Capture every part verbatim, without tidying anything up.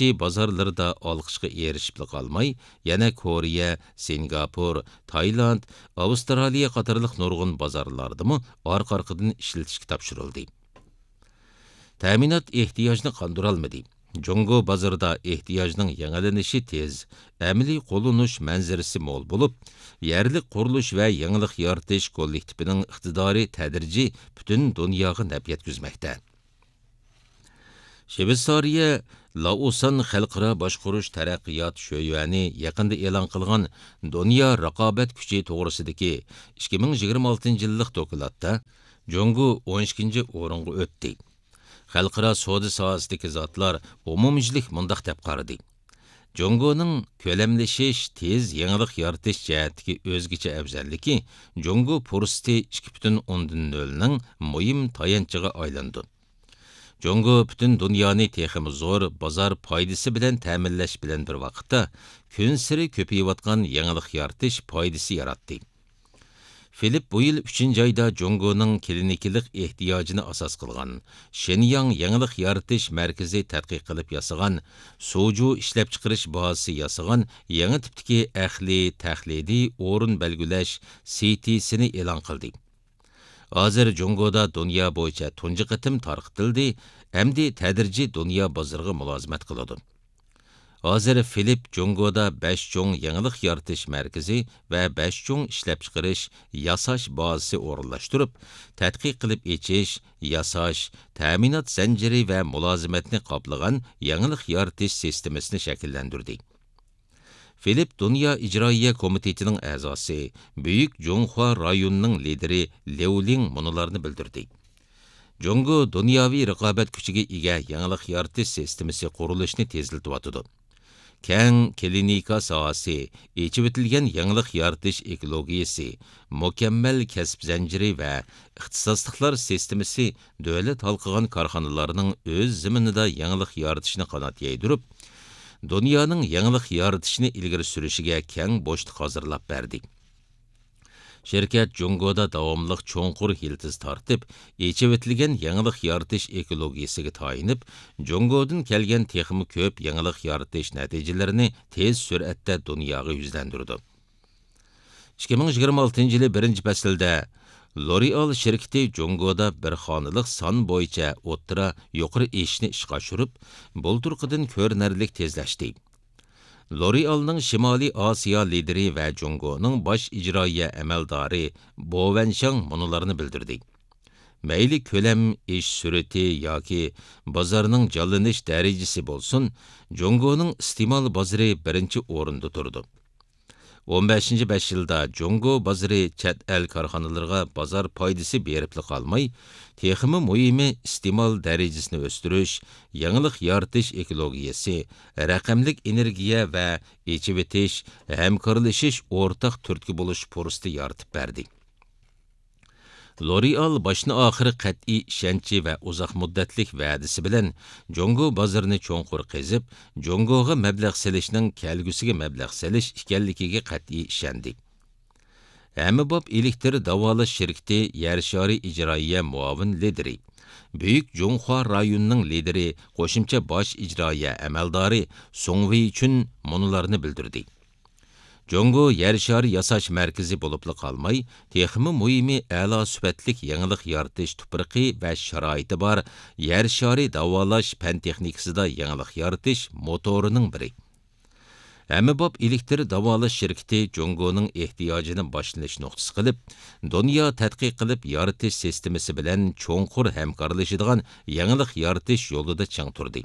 ئىچكى بازارلىرىدا ئالقىشقا ئېرىشىپلا قالماي، يەنە كورېيە، سىنگاپور، تايلاند، ئاۋسترالىيە قاتارلىق نۇرغۇن بازارلاردىمۇ ئارقا-ئارقىدىن ئىشلىتىشكە تاپشۇرۇلدى. تەمىنات ئېھتىياجنى قاندۇرالمىدى. جۇڭگو بازىرىدا ئېھتىياجنىڭ يېڭىلىنىشى تېز، ئەمەلىي قوللىنىش مەنزىرىسى مول بولۇپ، يەرلىك قۇرۇلۇش ۋە يېڭىلىق يارىتىش كوللېكتىپىنىڭ ئىقتىدارى تەدرىجىي پۈتۈن دۇنياغا نەپ يەتكۈزمەكتە. شىۋېتسارىيە لائوسان خەلقئارا باشقۇرۇش تەرەققىيات شۆيۈەنى يېقىندا ئېلان قىلغان دۇنيا رىقابەت كۈچى توغرىسىدىكى ئىككى مىڭ يىگىرمە ئالتىنچى يىللىق دوكلاتتا جۇڭگو ئون ئىككىنچى ئورۇنغا ئۆتتى. خەلقئارا سودا ساھەسىدىكى زاتلار ئومۇميۈزلۈك مۇنداق دەپ قارىدى: جۇڭگونىڭ كۆلەملىشىش، تېز يېڭىلىق يارىتىش جەھەتتىكى ئۆزگىچە ئەۋزەللىكى جۇڭگو پۇرسىتى ئىككى پۈتۈن ئوندىن نۆلنىڭ مۇھىم تايانچىغا ئايلىنىدۇ. جۇڭگو پۈتۈن دۇنيانى تېخىمۇ زور بازار پايدىسى بىلەن تەمىنلەش بىلەن بىر ۋاقىتتا، كۈنسېرى كۆپىيىۋاتقان يېڭىلىق يارىتىش پايدىسى ياراتتى. فىلىپ بۇ يىل ئۈچىنچى ئايدا جۇڭگونىڭ كلىنىكىلىق ئېھتىياجىنى ئاساس قىلغان شېنياڭ يېڭىلىق يارىتىش مەركىزى تەتقىق قىلىپ ياسىغان سۇجۇ ئىشلەپچىقىرىش بازىسى ياسىغان يېڭى تىپتىكى ئەقلىي تەقلىدىي ئورۇن بەلگىلەش سىتىسىنى ئېلان قىلدى. ھازىر جۇڭگودا دۇنيا بويىچە تۇنجى قېتىم تارقىتىلدى، ئەمدى تەدرىجىي دۇنيا بازىرىغا مۇلازىمەت قىلىدۇ. ھازىر فىلىپ جۇڭگودا بەش چوڭ يېڭىلىق يارىتىش مەركىزى ۋە بەش چوڭ ئىشلەپچىقىرىش، ياساش بازىسى ئورۇنلاشتۇرۇپ، تەتقىق قىلىپ ئېچىش، ياساش، تەمىنات زەنجىرى ۋە مۇلازىمەتنى قاپلىغان يېڭىلىق يارىتىش سىستېمىسىنى شەكىللەندۈردى. فىلىپ دۇنيا ئىجرائىيە كومىتېتىنىڭ ئەزاسى، بۈيۈك جۇڭخۇا رايونىنىڭ لىدىرى ليۇ لىڭ مۇنۇلارنى بىلدۈردى: جۇڭگو دۇنياۋى رىقابەت كۈچىگە ئىگە يېڭىلىق يارىتىش سىستېمىسى قۇرۇلۇشىنى تېزلىتىۋاتىدۇ. كەڭ كلىنىكا ساھەسى، ئېچىۋېتىلگەن يېڭىلىق يارىتىش ئېكولوگىيىسى، مۇكەممەل كەسىپ زەنجىرى ۋە ئىختىساسلىقلار سىستېمىسى دۆلەت ھالقىغان كارخانىلارنىڭ ئۆز زېمىنىدا يېڭىلىق يارىتىشىنى قانات يايدۇرۇپ، دۇنيانىڭ يېڭىلىق يارىتىشنى ئىلگىرى سۈرۈشىگە كەڭ بوشلۇق ھازىرلاپ بەردى. شىركەت جۇڭگودا داۋاملىق چوڭقۇر يىلتىز تارتىپ، ئېچىۋېتىلگەن يېڭىلىق يارىتىش ئېكولوگىيىسىگە تايىنىپ، جۇڭگودىن كەلگەن تېخىمۇ كۆپ يېڭىلىق يارىتىش نەتىجىلىرىنى تېز سۈرئەتتە دۇنياغا يۈزلەندۈرىدۇ. ئىككى مىڭ يىگىرمە ئالتىنچى يىلى بىرىنچى پەسىلدە لورېئال شىركىتى جۇڭگودا بىر خانىلىق سان بويىچە ئوتتۇرا يۇقىرى ئېشىشنى ئىشقا ئاشۇرۇپ، بۇلتۇرقىدىن كۆرۈنەرلىك تېزلەشتى. لورېئالنىڭ شىمالىي ئاسىيا لىدىرى ۋە جۇڭگونىڭ باش ئىجرائىيە ئەمەلدارى بو ۋەنشاڭ مۇنۇلارنى بىلدۈردى: مەيلى كۆلەم ئېشىش سۈرئىتى ياكى بازارنىڭ جانلىنىش دەرىجىسى بولسۇن، جۇڭگونىڭ ئىستېمال بازىرى بىرىنچى ئورۇندا تۇرىدۇ. ئون بەشىنچى بەش يىلدا جۇڭگو بازىرى چەت ئەل كارخانىلىرىغا بازار پايدىسى بېرىپلا قالماي، تېخىمۇ مۇھىمى ئىستېمال دەرىجىسىنى ئۆستۈرۈش، يېڭىلىق يارىتىش ئېكولوگىيەسى، رەقەملىك ئېنېرگىيە ۋە ئېچىۋېتىش، ھەمكارلىشىش ئورتاق تۈرتكە بولۇش پۇرسىتى يارىتىپ بەردى. لورېئال باشتىن-ئاخىر قەتئىي ئىشەنچى ۋە ئۇزاق مۇددەتلىك ۋەدىسى بىلەن جۇڭگو بازىرىنى چوڭقۇر قېزىپ، جۇڭگوغا مەبلەغ سېلىشنىڭ كەلگۈسىگە مەبلەغ سېلىش ئىكەنلىكىگە قەتئىي ئىشەندى. ھەممىباب ئېلېكتر داۋالاش شىركىتى يەر شارى ئىجرائىيە مۇئاۋىن لىدىرى، بۈيۈك جۇڭخۇا رايونىنىڭ لىدىرى، قوشۇمچە باش ئىجرائىيە ئەمەلدارى سۇڭ ۋېيچۈن مۇنۇلارنى بىلدۈردى: جۇڭگو يەر شارى ياساش مەركىزى بولۇپلا قالماي، تېخىمۇ مۇھىمى ئەلا سۈپەتلىك يېڭىلىق يارىتىش تۇپرىقى ۋە شارائىتى بار يەر شارى داۋالاش پەن تېخنىكىسىدا يېڭىلىق يارىتىش موتورىنىڭ بىرى. ھەممىباب ئېلېكتر داۋالاش شىركىتى جۇڭگونىڭ ئېھتىياجىنى باشلىنىش نۇقتىسى قىلىپ، دۇنيا تەتقىق قىلىپ يارىتىش سىستېمىسى بىلەن چوڭقۇر ھەمكارلىشىدىغان يېڭىلىق يارىتىش يولىدا چىڭ تۇردى.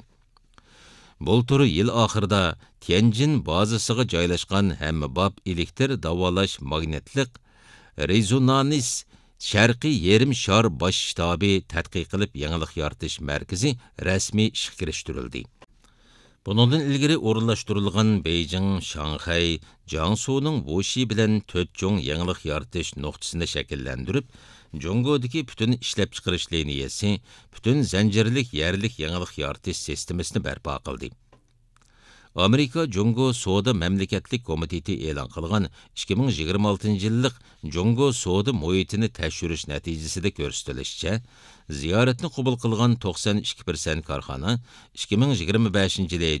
بۇلتۇر يىل ئاخىرىدا تيەنجىن بازىسىغا جايلاشقان ھەممىباب ئېلېكتر داۋالاش ماگنىتلىق رېزونانس شەرقىي يېرىم شار باش شتابى تەتقىق قىلىپ يېڭىلىق يارىتىش مەركىزى رەسمىي ئىشقا كىرىشتۈرۈلدى. بۇنىڭدىن ئىلگىرى ئورۇنلاشتۇرۇلغان بېيجىڭ، شاڭخەي، جياڭسۇنىڭ ۋۇشى بىلەن تۆت چوڭ يېڭىلىق يارىتىش نۇقتىسىنى شەكىللەندۈرۈپ، جۇڭگودىكى پۈتۈن ئىشلەپچىقىرىش لىنىيەسى، پۈتۈن زەنجىرلىك يەرلىك يېڭىلىق يارىتىش سىستېمىسىنى بەرپا قىلدى. ئامېرىكا جۇڭگو سودا مەملىكەتلىك كومىتېتى ئېلان قىلغان ئىككى مىڭ يىگىرمە ئالتىنچى يىللىق جۇڭگو سودا مۇھىتىنى تەكشۈرۈش نەتىجىسىدە كۆرسىتىلىشىچە، زىيارەتنى قوبۇل قىلغان توقسان ئىككى پىرسەنت كارخانا ئىككى مىڭ يىگىرمە بەشىنچى يىلى